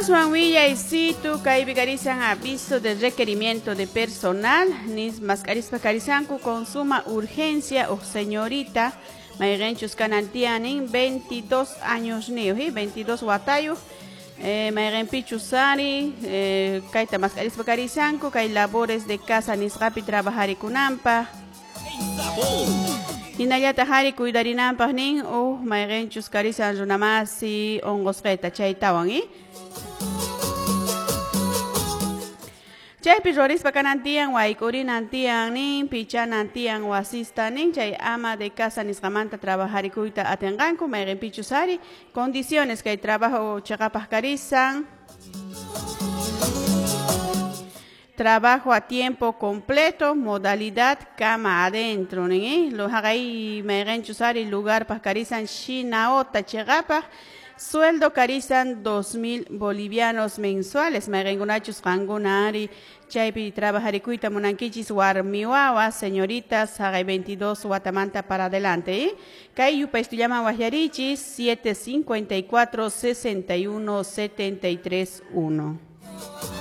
Aswan willaysitu kaypi karisan aviso de requerimiento de personal nis mask'arispa karisanku con suma urgencia o señorita mayqinchus kanan tiyan 22 años niyuq, 22 watayuq, mayqinpichus ari kayta mask'arispa karisanku kay labores de casa nisqapi trabajarikunanpaq. Hinallataq ari cuidarinanpaq nin uj mayqinchus karisan runamasi unqusqayta chaytawan, Chaypi rurispa kanan tiyan wayk'urinan tiyan nin pichanan tiyan wasista nin chay ama de casa nisqamanta trabajarikuyta atinqanku mayqinpichus ari condiciones kay trabajo chiqapaq karisan. Trabajo a tiempo completo, modalidad cama adentro, nin, Lo haqay mayqinchus ari lugar paq karisan Shinaota chiqapaq. Sueldo karisan 2.000 bolivianos mensuales. Mayqinkunachus qankuna ari chaypi trabajarikuyta munankichis warmi wawa, señoritas, haqay 22 watamanta para adelante, Kay yupaystullaman waqyarichis 754 61 73 1.